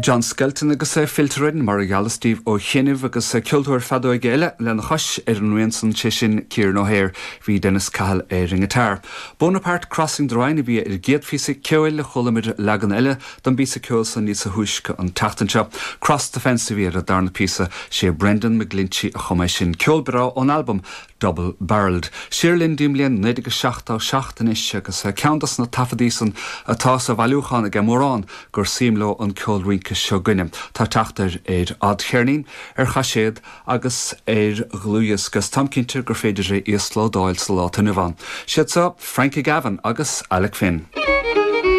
John Skelton agus Filter Inn, mar a gheallas daoibh ó chianaibh, agus ceoltóir feadóige eile lena chois ar an rian san, sé sin Kieran O'Hare. Bhí Dennis Cahill ar an ngiotár. Bonaparte Crossing the Rhine a bhí ar an gcéad phíosa ceoil, chuala muid leagan eile don bpíosa ceoil san níosa thúisce an tseachtain seo. Cross the Fence a bhí ar an darna píosa, sé Brendan McGlinchey a chum é sin. Ceol breá ón albam Double Barrelled. Siar linn dtí'n mbliain 1977 anois agus ceann dos na taifeadaí san atá sa bhailiúchán aige mórán gur suim leo an ceol rince seo 'gainne. Tá teacht air ar fhadcheirnín, ar chaiséad agus ar dhlúthdhiosca agus táim cinnte gur féidir é íoslódáil sa lá atá inniu ann. Siad seo Frankie Gavin agus Alec Finn.